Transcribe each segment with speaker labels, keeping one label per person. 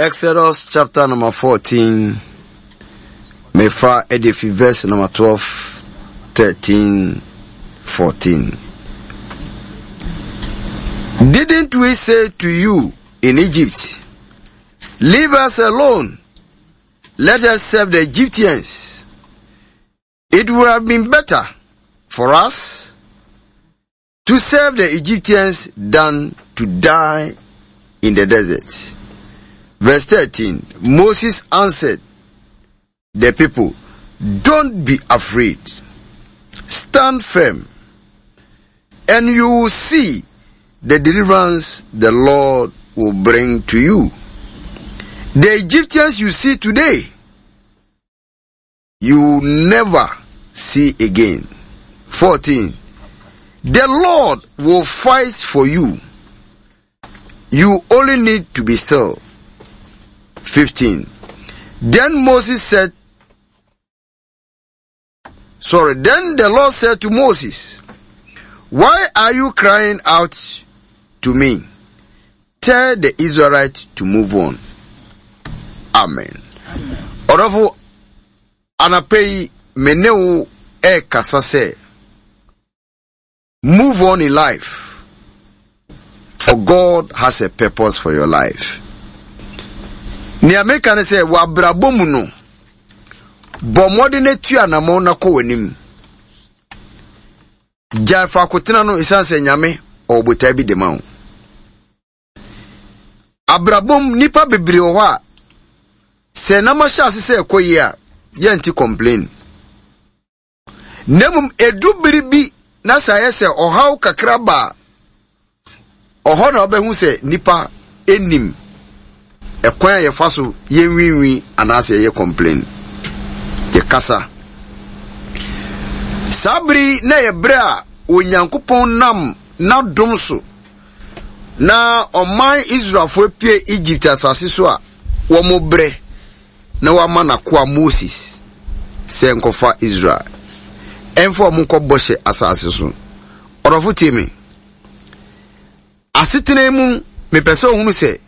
Speaker 1: Exodus chapter number 14, mefa ɛde fi verse number 12, 13, 14. Didn't we say to you in Egypt, Leave us alone, let us serve the Egyptians? It would have been better for us to serve the Egyptians than to die in the desert. Verse 13 Moses answered the people, Don't be afraid. Stand firm, and you will see the deliverance the Lord will bring to you. The Egyptians you see today, you will never see again. 14. The Lord will fight for you. You only need to be still. 15. Then Moses said, Sorry, then the Lord said to Moses, Why are you crying out to me? Tell the Israelites to move on. Amen. Ɔdɔfo, anapa yi, me ne wo ɛrekasa sɛ, move on in life, for God has a purpose for your life. Nea meka ne sɛ, wɔ abrabɔ mu no, bɔ mmɔden atu anammɔn na kɔ w'anim. Gyae faako tena no esiane sɛ Nyame ɔwɔ botae bi de ma wo. Abrabom nnipa bebree wɔ hɔ a sɛ nam ahyɛ ase sɛ ɛkɔ yie a yɛnte complain. Na mmom edu bere bi na sɛ ayɛ sɛ ɔhaw kakra ba a Ɔhɔ na wobɛhu sɛ nnipa nnim ɛkwan a yɛfa so yɛnwiinwii anaasɛ yɛyɛ complain. Yɛkasa. Saa bere yi na ɛyɛ bere a Onyankopɔn nam n'adom so na ɔman Israelfo apue Egypt asase so a wɔbrɛ na wama n'akoa Moses sɛ nkɔfa Israel ɛmfa wɔn nkɔ bɔhyɛ asase so. Ɔdɔfo tie me. Asetena mu, mepɛ sɛ ohunu sɛ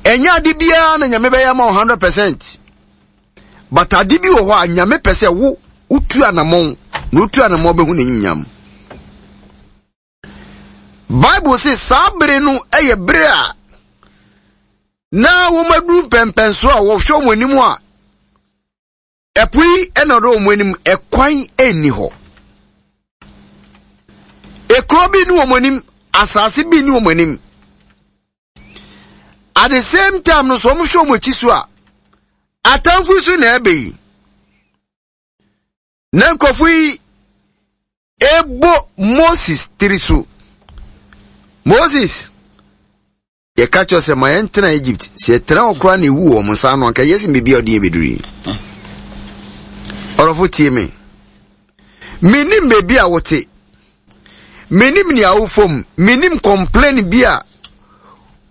Speaker 1: ɛnyɛ ade biara na Nyame bɛyɛ ama wo 100%. But ade bi wɔ hɔ a Nyame pɛ sɛ wo wotu anamɔn na wotu anamɔn bɛhu n'anyimnyam. Bible se saa bere no yɛ bere a na wɔaduru mpɛmpɛnso a wɔhwɛ wɔn anim a Ɛpo yi na ɔdɔ wɔn anim, ɛkwan nni hɔ. Ekuro bi ni wɔn anim, asase bi ni wɔn anim. At the same time no, so wɔn hwɛ wɔn akyi so a, atamfo so na ɛbɛ yi. Na nkurɔfo yi ebo Moses tiri so. Moses, Yɛka kyerɛ sɛ ma yɛntena Egypt. Sɛ yɛtena hɔ koraa na ewu wɔ wɔn nsa ano anka yɛsi baabi a ɔde yɛn bɛduru yi. Ɔdɔfo tie me. Menim baabi a wote. Menim nea wofam. Menim complain bi a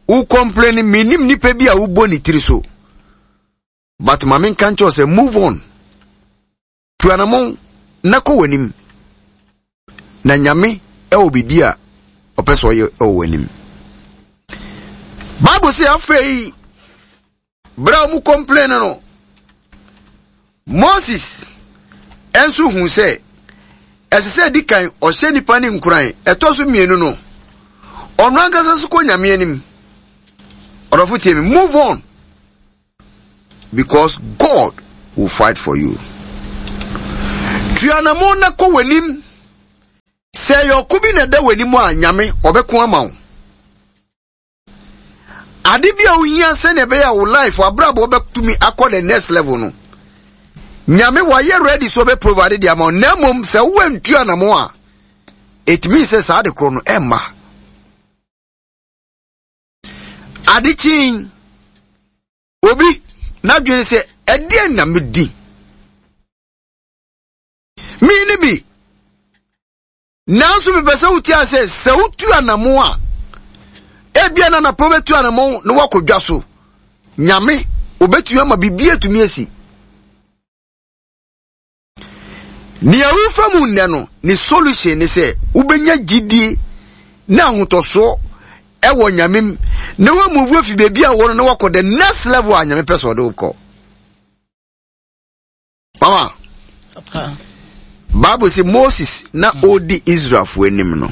Speaker 1: wo complain. Menim nipa bi a wobɔ ne tiri so. But ma menka nkyerɛ sɛ move on. Tu anamɔn na kɔ w'anim. Na Nyame wɔ biribi a ɔpɛ sɛ ɔyɛ wɔ w'anim. Bible sɛ afei berɛ a wɔn complain no, Moses nso hu sɛ ɛsɛ sɛ di kan ɔhyɛ nipa ne nkuran. Ɛtɔ so mmienu no, ɔno ankasa so kɔ Nyame anim. Ɔdɔfo tie me, move on. Because God will fight for you. Tuanamo na kɔ w'anim. Sɛ ɛyɛ ɔko bi na ɛda w'anim a, Nyame ɔbɛko ama wo. Ade bi a wohia sɛnea ɛbɛyɛ a wo life abrabɔ bɛtumi akɔ the next level no, Nyame wayɛ ready so ɔbɛ provide de ama wo. Na mmom sɛ woantu anamo a, it means sɛ saa de korɔ no ɛmma. Ade kyee obi n'adwene sɛ ɛdeɛn na medi? Me ne bi. Nanso mepɛ sɛ wotia sɛ sɛ wotu anamo a ebia na anapɛ wobɛtu anamo na woakɔ dwa so. Nyame obɛtumi ama biribi atumi asi. Nea worefa mu nnɛ no, ne solution ne sɛ wobɛnya gyidie ne ahotɔsoɔ ɛwɔ Nyame mu. Na woamuvu afi baabi a wɔ no na woakɔ the next level a Nyame pɛ sɛ ɔde wo kɔ. Mama, Bible sɛ Moses na ɔredi Israelfoɔ anim no,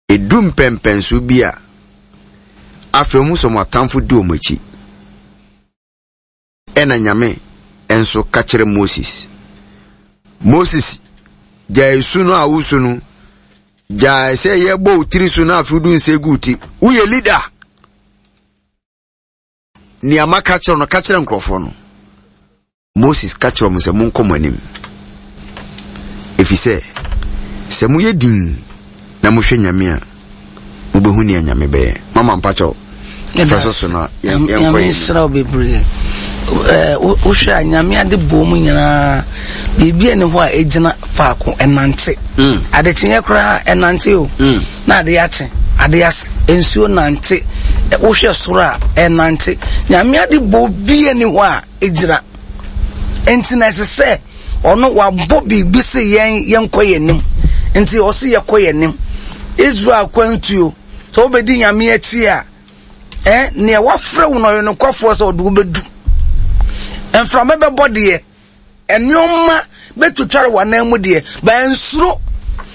Speaker 1: ɛdu mpɛmpɛnso bi a, afei ɔhu sɛ wɔn atamfo di wɔn akyi. Ɛna Nyame nso ka kyerɛ Moses. Moses, gyae su no a wosu no, gyae sɛ yɛbɔ wo tiri so na afei wode nsa gu wo ti. Woyɛ leader. Nea maka kyerɛ no, ka kyerɛ nkurɔfoɔ no. Moses ka kyerɛɛ wɔn sɛ, Monkɔ mo anim, efisɛ sɛ moyɛ dinn na mohwɛ Nyame a, mobɛhu nea Nyame bɛyɛ. Mama mpakyɛw, fa so so na yɛnkɔ yɛn
Speaker 2: Nyame nhyira wo bebree. Wohwɛ a Nyame ade bɔ mu nyinaa, biribi ani hɔ a ɛgyina faako, ɛnante. Adekyeeɛ koraa ɛnante o. Na ade akye, ade asa, nsuo nante, wohwɛ soro a ɛnante. Nyame ade bɔ bi ani hɔ a gyina. Nti na ɛsɛ sɛ ɔno wabɔ biribi sɛ yɛn yɛnkɔ yɛn anim. Nti ɔse yɛkɔ yɛn anim. Israel kwantuo, sɛ wobɛdi Nyame akyi a, eh, nea wafrɛ wo no ɔyɛ nokwafoɔ sɛ ɔde wobɛdu. Mframa bɛbɔ deɛ, Nneɛma bɛtwitware w'anan mu deɛ, ba nsuro.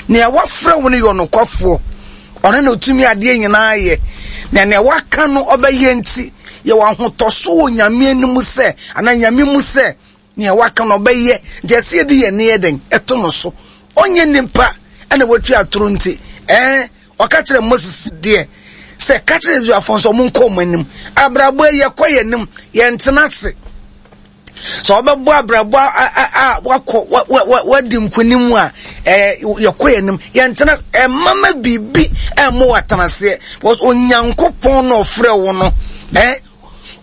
Speaker 2: Nea wafrɛ wo no yɛ ɔnokwafoɔ. Ɔno na ɔtumi adeɛ nyinaa yɛ. Na nea waka no ɔbɛyɛ nti, yɛwɔ ahotɔso wɔ Nyame anim sɛ, anaa Nyame mu sɛ, nea waka no ɔbɛyɛ. Nti ɛsɛ yɛde yɛn ani yɛ dɛn? Ɛto no so. Ɔnyɛ nipa ɛna watua atoro nti, ɛɛ, ɔka kyerɛ Moses deɛ sɛ, ka kyerɛ Israelfoɔ nso ɔmo nkɔ ɔmo anim. Abrabɔ yi yɛkɔ yɛn anim, yɛntena ase. Sɛ wɔbɛbɔ abrabɔ a wakɔ wadi nkonim a, ɛɛ yɛkɔ yɛn anim, yɛntena ɛmama biribi ɛmmɔ wɔ atenaseɛ. Because Onyankopɔn na ɔfrɛ wo no, ɛɛ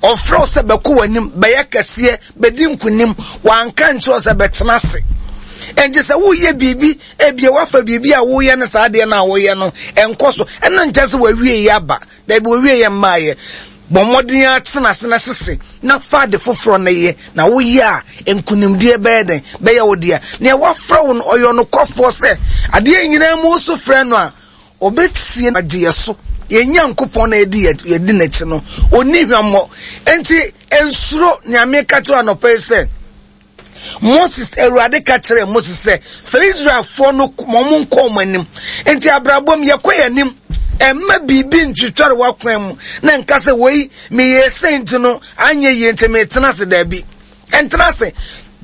Speaker 2: ɔfrɛ wo sɛ bɛkɔ w'anim, bɛyɛ kɛseɛ, bɛdi nkonim. Wanka nkyerɛ wo sɛ bɛtena ase. Ɛnti sɛ woyɛ biribi, ebia wafa biribi a woyɛ no saa adeɛ no a woyɛ no, ɛnkɔ so. Ɛno nkyɛ sɛ wawie yɛ aba. Dabi, wɔwie yɛ mmaeɛ. Bɔ mmɔden ara tena ase na sese na fa ade foforɔ no yɛ, na woyɛ a, nkonimdie bɛyɛ dɛn? Bɛyɛ wo dea. Nea wafrɛ wo no, ɔyɛ ɔnokwafoɔ sɛ adeɛ nyinaa mu wosu frɛ no a, ɔbɛtie na wagye yɛ so. Yɛn Nyankopɔn na yɛdi yɛdi n'akyi no, ɔnni hwammɔ. Enti nsuro nea meka kyerɛ wo anɔpa yi sɛ, Moses, Awurade ka kyerɛɛ Moses sɛ, fa Israelfoɔ no ma wɔn nkɔ wɔn anim. Nti abrabɔ mu yɛkɔ yɛn anim. Ɛmma biribi ntwitware w'akwan mu na nka sɛ wei meyɛɛ sei nti no anyɛ yie nti metena ase daabi. Ɛntena ase.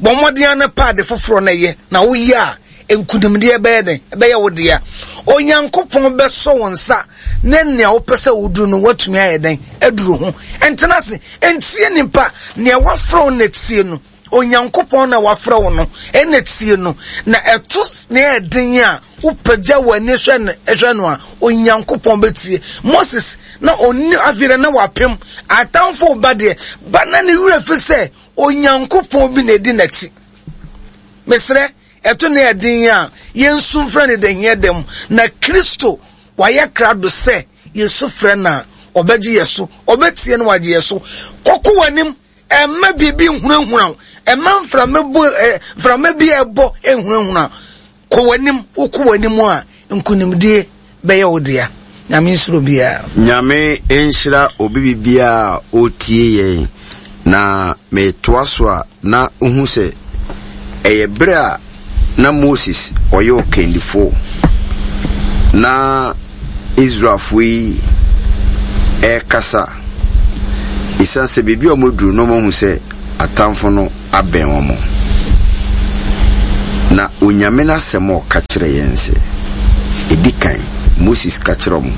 Speaker 2: Bɔ mmɔden ara na pɛ ade foforɔ na yɛ na woyɛ a nkunimdeɛ bɛyɛ dɛn? Ɛbɛyɛ wo dea. Onyankopɔn bɛsɔ wo nsa ne nea wopɛ sɛ woduru no woatumi ayɛ dɛn aduru ho. Ɛntena ase. Ntie nipa. Nea wafrɛ wo na tie no. Onyankopɔn na wafrɛ wo no ɛna tie no. Na ɛto nea ɛden a wopagya w'ani hwɛ no hwɛ no a Onyankopɔn bɛtie. Moses na ɔnni afei na wapem atamfo ba deɛ ba na ne werɛ fi sɛ Onyankopɔn bi na ɛdi n'akyi. Mesrɛ ɛto nea ɛden a yɛnsu mfrɛ no da hia da mu na Kristo wayɛ krado sɛ yɛsu frɛ no a ɔbɛgye yɛ so, ɔbɛtie no wagye yɛ so. Kɔko w'anim, ɛmma biribi nhunahuna wo, ɛmma mframa bu ɛ mframa bi a ɛbɔ nhunahuna. Kɔ w'anim, wokɔ w'anim a nkunimdie bɛyɛ wo dea. Nyame nhyira obiara.
Speaker 1: Nyame nhyira obi bibiara a ɔretie yɛn na metoa so a na wohu sɛ ɛyɛ bere a na Moses ɔyɛ ɔkannifo na Israelfo yi rekasa. Esiane sɛ baabi a wɔaduru no wɔahu sɛ atamfo no abɛn wɔn. Na Onyame n'asɛm a ɔka kyerɛ yɛn sɛ, edi kan, Moses ka kyerɛ wɔn,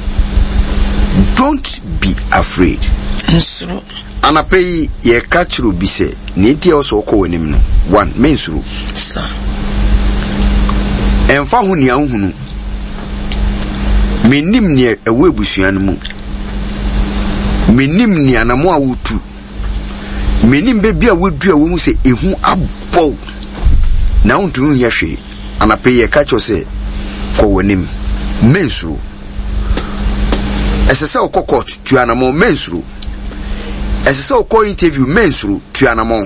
Speaker 1: Don't be afraid.
Speaker 2: Nsuro.
Speaker 1: Anapa yi, yɛreka akyerɛ obi sɛ, nea enti a ɛwɔ sɛ ɔkɔ w'anim no, one, mensuro.
Speaker 2: Sa.
Speaker 1: Ɛmfa ho nea wohunu. Mennim nea ɛwɔ abusua no mu. Mennim nea anamo a wotu. Mennim baabi a woadu a wohu sɛ ehu abɔ wo na wontumi nyɛ hwee. Anapa yi, yɛreka akyerɛ wo sɛ, kɔ w'anim. Mensuro. Ɛsɛ sɛ wokɔ court, tu anamɔn, mensuro. Ɛsɛ sɛ wokɔ interview, mensuro, tu anamɔn.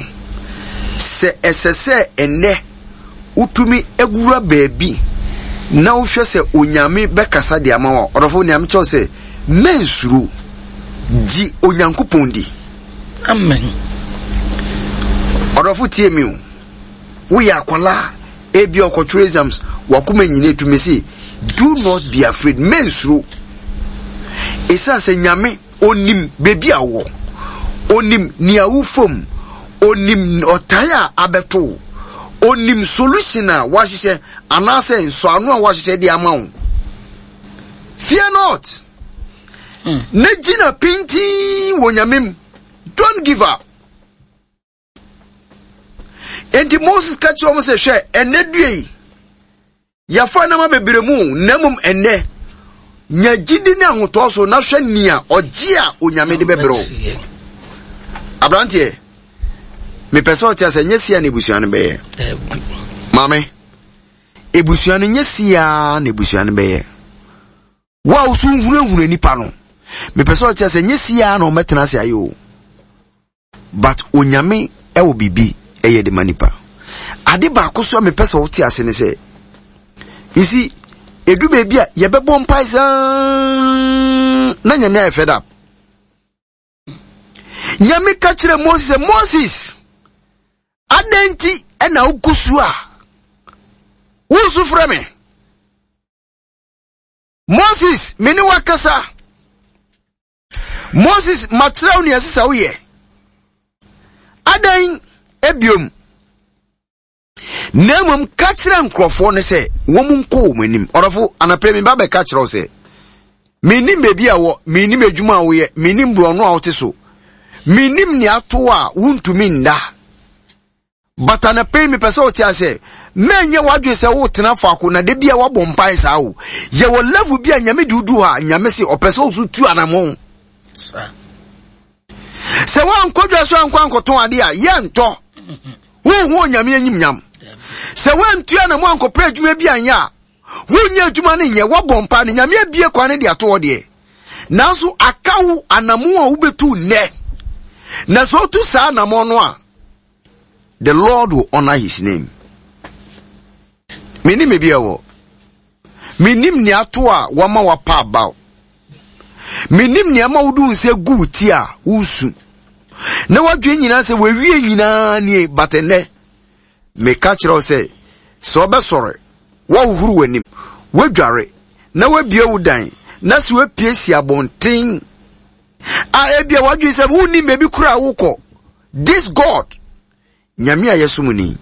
Speaker 1: Sɛ ɛsɛ sɛ ɛnnɛ wotumi wura baabi na wohwɛ sɛ Onyame bɛkasa de ama wo a, ɔdɔfo, nea mekyerɛ wo sɛ, Mɛnsuro. Gye Onyankopɔn di.
Speaker 2: Amen.
Speaker 1: Ɔdɔfo tie me o. Woyɛ akwadaa a, ebi ɔkɔtwerɛ exams, wakoma nyina etu me se, do not be afraid. Mɛnsuro. Esiane sɛ Nyame onim baabi a wowɔ, onim nea wofa mu, onim ɔtae a abɛto wo, onim solution a wahyehyɛ anaasɛ nsɔano a wahyehyɛ de ama wo. Fear not. Na gyina pintinn wɔ Nyame mu. Don't give up. Enti Moses ka kyerɛ wɔn sɛ, hwɛ, ɛnnɛ dua yi, yɛafa nneɛma bebree mu, na mmom ɛnnɛ, nya gyidi ne ahotɔ so na hwɛ nea ɔgye a Onyame de bɛbrɛ wo. Aberanteɛ, mepɛ sɛ ɔte asɛ nyɛ sia na ebusua no bɛyɛ. Maame, ebusua no nyɛ sia na ebusua no bɛyɛ. Wo a woso hunahuna nipa no, mepɛ sɛ ɔte asɛ nyɛ sia na ɔmɛtena ase ayɛ o. But Onyame ɛwɔ biribi ɛyɛ de ma nipa. Ade baako so a mepɛ sɛ wote ase ne sɛ, you see, edu baabi a yɛbɛbɔ mpae saa na Nyame ayɛ fed up. Nyame ka kyerɛ Moses sɛ, Moses, adɛn nti ɛna wogu so a wosu frɛ me? Moses, me ne wakasa. Moses, makyerɛ wo nea ɛsɛ sɛ woyɛ. Adɛn ebiom? Na mmom ka kyerɛ nkurɔfoɔ no sɛ wɔn nkɔ wɔn anim. Ɔdɔfo, anɔpɛ mi ba bɛka kyerɛ wo sɛ, mennim baabi a wɔ, mennim adwuma a woyɛ, mennim borɔno a wote so, mennim nea ato a wontumi nna. But anɔpa yi mepɛ sɛ wote ase mɛnyɛ w'adwene sɛ wotena faako na da bi a woabɔ mpae saa o. Yɛwɔ level bi a Nyame de wodu hɔ a Nyame se ɔpɛ sɛ wo tu anammɔn. Sɛ woankɔ dwa so ankɔ ankɔtɔn ade a yɛntɔ. Wonhu Onyame anyimnyam. Sɛ woantu anammɔn ankɔpɛ adwuma bi anyɛ a wonyɛ adwuma no nyɛ woabɔ mpae no Nyame abie kwan no de ato hɔ deɛ. Nanso aka wo anammɔn a wobɛtu nnɛ. Na sɛ wotu saa anammɔn no a The Lord will honor his name. Menim ebi ɛwɔ. Menim nea ato a wama wapa abaw. Menim nea ama wode wo nsa gu wo ti a woresu. Na wadwen nyinaa sɛ wawie nyinaa nie, but ɛnɛ meka kyerɛ wo sɛ sɛ ɔbɛsɔre, woahohoro w'anim, woadware, na woabie wo dan, na sɛ woapue si abɔnten a ebia wadwen sɛ wonnim baabi koraa wokɔ. This God, Nyame a yɛsom no yi,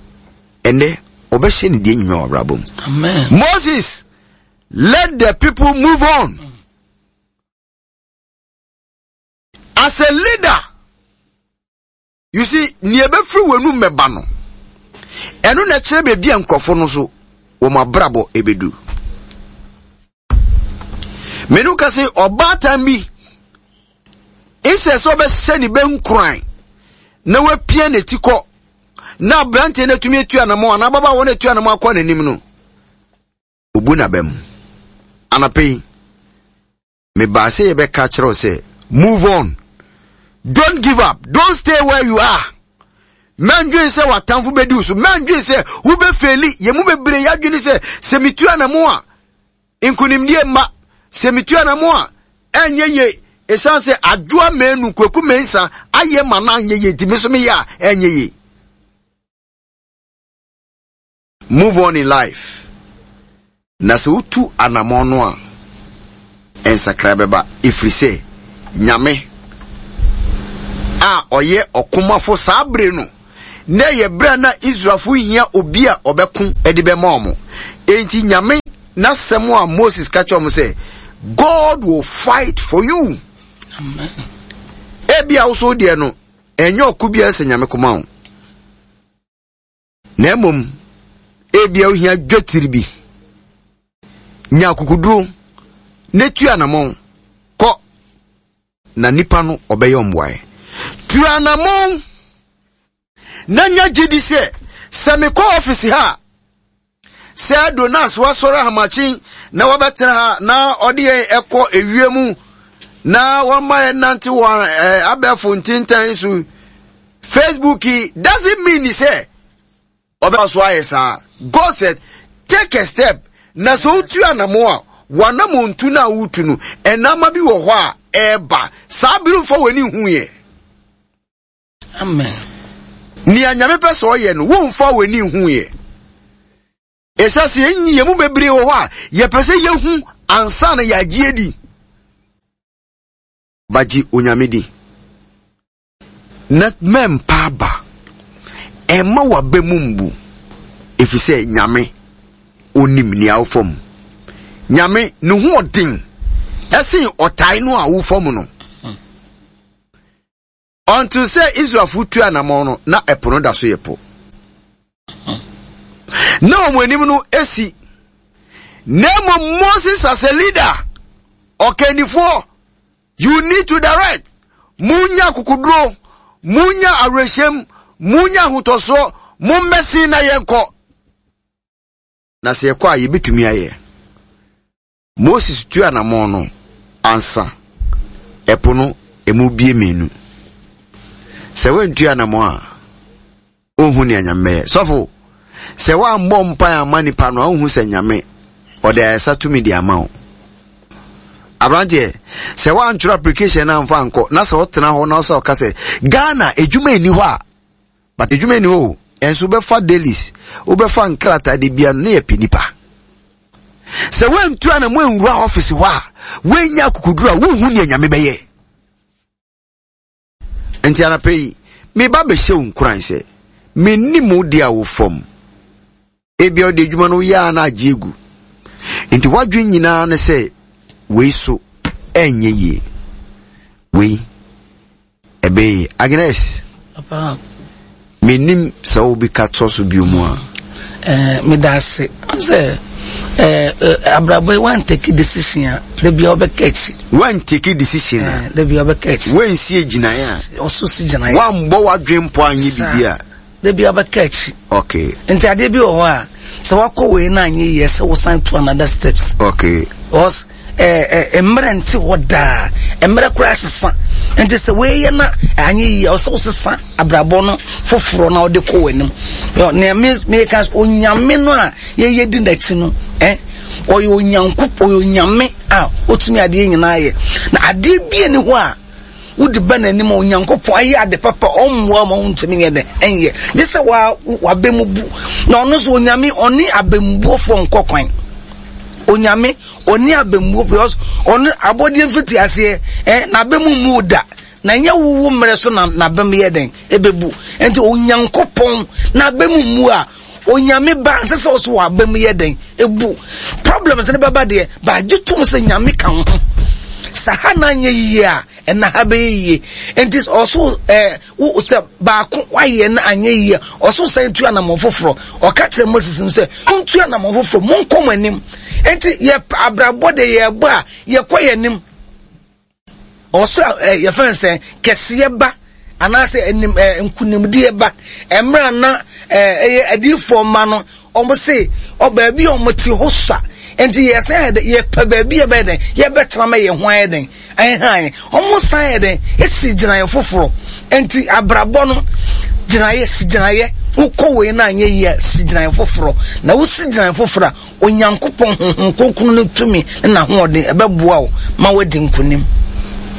Speaker 1: ɛnɛ ɔbɛhyɛ ne deɛ nyima wɔ abrabɔ mu.
Speaker 2: Amen.
Speaker 1: Moses, let the people move on. As a leader, you see, nea ɛbɛfiri w'anum mɛba no, ɛno na ɛkyerɛ baabi a nkurɔfo no so wɔn abrabɔ ɛbɛdu. Mene wo ka sɛ ɔbaatan bi nsɛ sɛ ɔbɛhyɛ ne bɛ nkuran na wapia n'ati kɔ na aberanteɛ no atumi atu anamɔ anaa ababaawa no atu anamɔ akɔ n'anim no, obu n'aba mu. Anapa yi, mebaa sɛ yɛbɛka kyerɛ wo sɛ move on. Don't give up. Don't stay where you are. Mɛndwen sɛ w'atamfo bɛdi wo so. Mɛndwen sɛ wobɛfeeli. Yɛn mu bebree yɛadwene sɛ sɛ metu anamo a nkonimdie mma. Sɛ metu anamo a ɛnyɛ yie. Ɛsiane sɛ Adwoa Manu, Kwaku Mensah ayɛ ma no anyɛ yie nti me nso meyɛ a ɛnyɛ yie. Move on in life. Na sɛ wotu anamɔn no a, nsakrae bɛba, ɛfiri sɛ Nyame a ɔyɛ ɔkomafo saa bere no, na ɛyɛ bere a na Israelfo hia obi a ɔbɛko de bɛma wɔn. Enti Nyame n'asɛm a Moses ka kyerɛ wɔn sɛ, God will fight for you.
Speaker 2: Amen.
Speaker 1: Ebia wo so deɛ no, ɛnyɛ ɔko biara sɛ Nyame koma wo. Na mmom, ebia wohia dwetiri bi. Nya akokoduro na tu anamɔn kɔ na nipa no ɔbɛyɛ ɔmboaeɛ. Tu anamɔn na nya gyedi sɛ sɛ mekɔ ɔfisi ha a Sɛ Donas wasɔre ahamakye na wabɛtena ha na ɔde yɛn ɛkɔ ewia mu na wɔma yɛn nante wɔ abɛɛfo ntentan so Facebook yi doesn't mean sɛ ɔbɛba so ayɛ saa. God said take a step na sɛ wotu anamo a w'anamontu no a wotu no, nneɛma bi wɔ hɔ a ɛreba. Saa bere mfa w'ani nhu yɛ.
Speaker 2: Amen.
Speaker 1: Nea Nyame pɛ sɛ ɔyɛ no, womfa w'ani nhu yɛ. Ɛsɛ sɛ yɛn yɛn mu bebree wɔ hɔ a yɛpɛ sɛ yɛhu ansa na yɛagye adi. Bagye Onyame di. Na mɛmpa aba. Ɛmma w'aba mu mbu. Efisɛ Nyame onim nea wofa mu. Nyame ne ho ɔden ɛsen ɔtae no a wofa mu no. Until sɛ Israelfo tu anamɔn no, na ɛpo no da so yɛ po. Na wɔn anim no esi. Na mmom Moses as a leader, ɔkandifoɔ, you need to direct. Munya akokoduro, munya awerɛhyɛm, munya ahotɔsoɔ, mommɛsen na yɛnkɔ. Na sɛ yɛkɔ a yɛbɛtumi ayɛ. Moses tuu anammɔn no ansa ɛpo no emu bie mmienu. Sɛ woantu anammɔn a, wonhu nea Nyame bɛyɛ. Sɔfo, sɛ woammɔ mpae amma nipa no a, wonhu sɛ Nyame ɔde ayɛsa tumi de ama wo. Aberanteɛ, sɛ woantwerɛ application no amfa ankɔ na sɛ wotena hɔ na wosɛ ɔka sɛ Ghana adwuma nni hɔ a, But adwuma nni hɔ o, ɛnso wobɛfa dailies, wobɛfa nkrataa de bia no ne yɛpɛ nipa. Sɛ woantu ana mo anwura office hɔ a, woanya akokoduru a wonhu nea Nyame bɛyɛ. Nti anapa yi, meba bɛhyɛ wo nkuran sɛ, mennim wo deɛ a wo fam. Ebia wode adwuma no woyɛ a na agye agu. Nti w'adwene nyinaa ne sɛ wei so ɛnyɛ yie. Wei ɛbɛyɛ yie. Agnes,
Speaker 2: Papa.
Speaker 1: Mennim sɛ wo bi ka toɔ so bio mu a.
Speaker 2: Eh, meda ase. Sɛ eh, eh, abrabɔ yi wan take decision a, da bia wobɛka akyi.
Speaker 1: Wan take decision a.
Speaker 2: Eh, da bia wobɛka akyi.
Speaker 1: Wansie gyinaeɛ
Speaker 2: a. Ɔso si gyinaeɛ.
Speaker 1: Wanbɔ w'adwene mpo anyɛ biribi a.
Speaker 2: Da bi abɛka akyi.
Speaker 1: Okay.
Speaker 2: Nti adeɛ bi wɔ hɔ a, sɛ wakɔ wei na anyɛ yie sɛ wosan to another steps.
Speaker 1: Okay.
Speaker 2: Because eh, eh, mmerɛ nte hɔ daa. Mmerɛ koraa sesa. Nti sɛ wei yɛ na anyɛ yie a, ɔsɛ wosesa abrabɔ no foforɔ na ɔde kɔ w'anim. Nea me meka onyame no a yɛyɛ di n'akyi no, eh, ɔyɛ onyankopɔn, ɔyɛ onyame a ɔtumi adeɛ nyinaa yɛ. Na adeɛ bi ni hɔ a Wode ba n'anim a, Onyankopɔn ayɛ ade papa, ɔmmoa ma wontumi nyɛ dɛn ɛnyɛ. Gye sɛ wa w'abɛ mu bu. Na ɔno nso Onyame ɔne abɛmbuofoɔ nkɔ kwan. Onyame ɔne abɛmbuo because ɔno abɔdeɛ mfiti aseɛ eh, n'abɛ mu mmu da. Na ɛnyɛ wo wo mmerɛ so na n'abɛ mu yɛ dɛn ɛbɛbu. Nti Onyankopɔn n'abɛ mu mmu a Onyame ba nsɛ sɛ ɔso wɔ aba mu yɛ dɛn ebu problems ne bɛba deɛ ba gye tom sɛ nyame ka ho sɛ ha na anyɛ yie a ɛna ha bɛyɛ yie nti ɔso ɛɛ wo sɛ baako wayɛ na anyɛ yie a ɔso sɛn tu anamɔ foforɔ ɔka kyerɛ Moses no sɛ montu anamɔ foforɔ monkɔ mo anim nti yɛ abrabɔ de yɛbɔ a yɛkɔ yɛ anim. Ɔsoro a eh, yɛfrɛ no sɛ kɛseɛ ba anaasɛ anim eh, nkunimdie ba mmerɛ a na eh, ɛyɛ adiyifoɔ mma no wɔn se ɔ baabi a wɔn te hɔ sua nti yɛsan yɛ dɛ yɛpɛ baabi a yɛbɛyɛ dɛn yɛbɛtena ma yɛn ho ayɛ dɛn ɛhan wɔn san yɛ dɛn esi gyinaeɛ foforɔ nti abrabɔ no gyinaeɛ si gyinaeɛ wokɔ wei na anyɛ yie a si gyinaeɛ foforɔ na wosi gyinaeɛ foforɔ a Onyankopɔn honhom kronkron no tumi ne n'ahoɔden, ɛbɛboa wo ma woadi nkonim.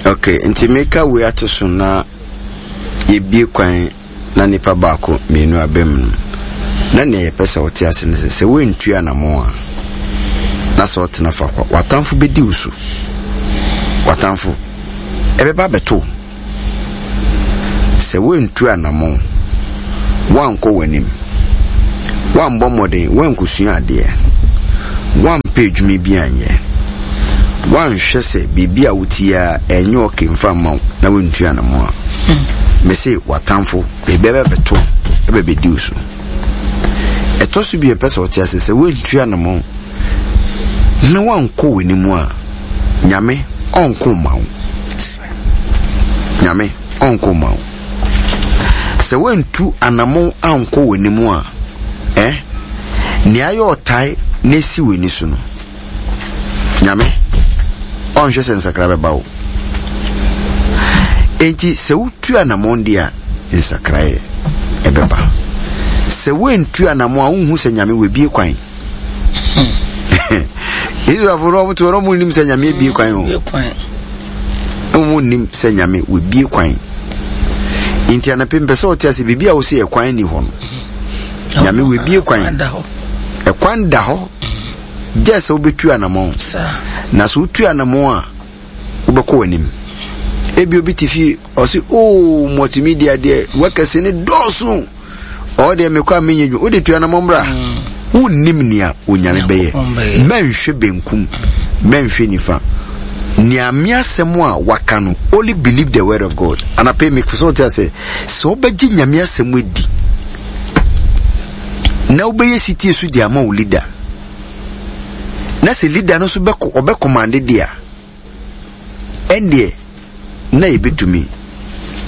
Speaker 1: Ok, nti meka wei ato so na yɛbie kwan na nipa baako mmienu aba mu no, na nea yɛpɛ sɛ wote ase ne sɛ, sɛ woantu anammɔn a, na sɛ wotena faako a, w'atamfo bɛdi wo so. W'atamfo, ɛbɛba abɛto wo. Sɛ woantu anammɔn, woankɔ w'anim, woammɔ mmɔden, woankosua adeɛ, woampɛ adwuma bi anyɛ, woanhwɛ sɛ biribi a wote yi ara ɛnyɛ ɔke mfa mma wo na woantu anammɔn a, mese w'atamfo baabi bɛbɛto wo bɛbɛdi wo so. Ɛtɔ so bio, ɛpɛ sɛ wote ase sɛ woantu anammɔn na woankɔ w'anim a, Nyame ɔnko mma wo. Nyame ɔnko mma wo. Sɛ woantu anammɔn ankɔ w'anim a, eh, nea ayɛ ɔtae na esi w'ani so no, Nyame ɔnhwɛ sɛ nsakra bɛba wo. Enti sɛ wotu anammɔn deɛ a, nsakraeɛ ɛbɛba. Sɛ woantu anammɔn a, wonhu sɛ Nyame wabie kwan. Israelfo no wɔn te hɔ na wɔn nnim sɛ Nyame abie kwan o. Wɔn nnim sɛ Nyame wabie kwan. Nti anapɛ mpɛ sɛ ɔte ase biribi a wɔsi ɛkwan ni hɔ no. Nyame wabie kwan. Ɛkwan da hɔ. Gye sɛ wobɛtu anamɔn. Na sɛ wotu anamɔn a wobɛkɔ w'anim. Ebi obi te fie ɔse oo multimedia deɛ workers ne dɔɔso. Ɔwɔ deɛ mekɔ a menyɛ dwuma. Wode tua anamɔ mmra. Mm. Wonnim nea Onyame bɛyɛ. Mɛnhwɛ benkum, mɛnhwɛ nifa. Nea me asɛm a waka no, only believe the word of God. Anapɛ mekɔ sɛ wote ase, sɛ wobɛgye Nyame asɛm adi na wobɛyɛ sitie so de ama wo leader, na sɛ leader no nso bɛkɔ ɔbɛkɔmande deɛ a, ɛndeɛ na yɛbɛtumi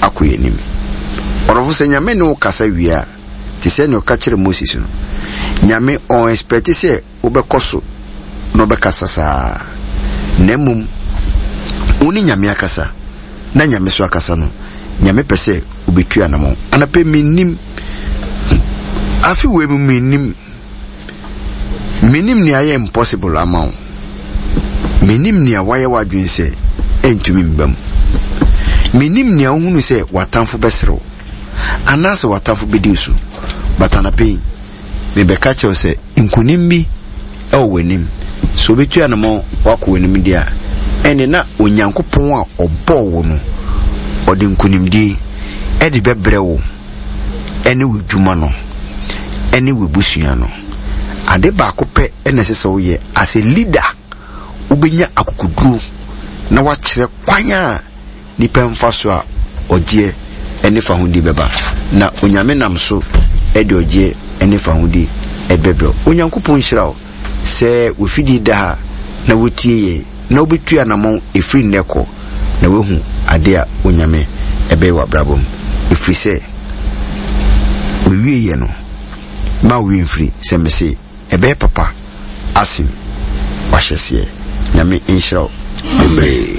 Speaker 1: akɔ yɛn anim. Ɔdɔfo, sɛ Nyame ne wo kasa wie a, te sɛ nea ɔka kyerɛɛ Moses no, Nyame ɔn expect sɛ wobɛkɔ so na ɔbɛkasa saa, na mmom wo ne Nyame akasa, na Nyame so akasa no, Nyame pɛ sɛ wobɛtu anamɔn. Anɔpɛ mennim, afe wei mu mennim. Menim nea ayɛ impossible ama wo. Menim nea woayɛ w'adwene sɛ ɛntumi mma mu. Menim nea wohunu sɛ w'atamfo bɛsere wo anaasɛ w'atamfo bɛdi wo so. But anɔpa yi, mebɛka kyerɛ wo sɛ nkonim bi wɔ w'anim. Sɛ wobɛtu anamɔn woakɔ w'anim deɛ a, ɛnde na Onyankopɔn a ɔbɔɔ wo no, ɔde nkonimdie de bɛbrɛ wo. ne w'adwuma no ne w'abusua no. Ade baako pɛ na ɛsɛ sɛ woyɛ as a leader, wobɛnya akokoduro na wakyerɛ kwan a nipa mfa so a ɔgyeɛ ne fahodie bɛba. Na Onyame nam so de ɔgyeɛ ne fahodie bɛbrɛ wo. Onyankopɔn nhyira wo. Sɛ w'afidie da ha na wotie yɛn na wobɛtu anamɔn ɛfiri nnɛ kɔ na woahu adeɛ a Onyame ɛbɛyɛ w'abrabɔ mu. Ɛfiri sɛ w'awieɛ no, mma wo werɛ mfiri sɛ mese ɛbɛyɛ papa asen w'ahyɛseɛ. Nyame nhyira wo bebree.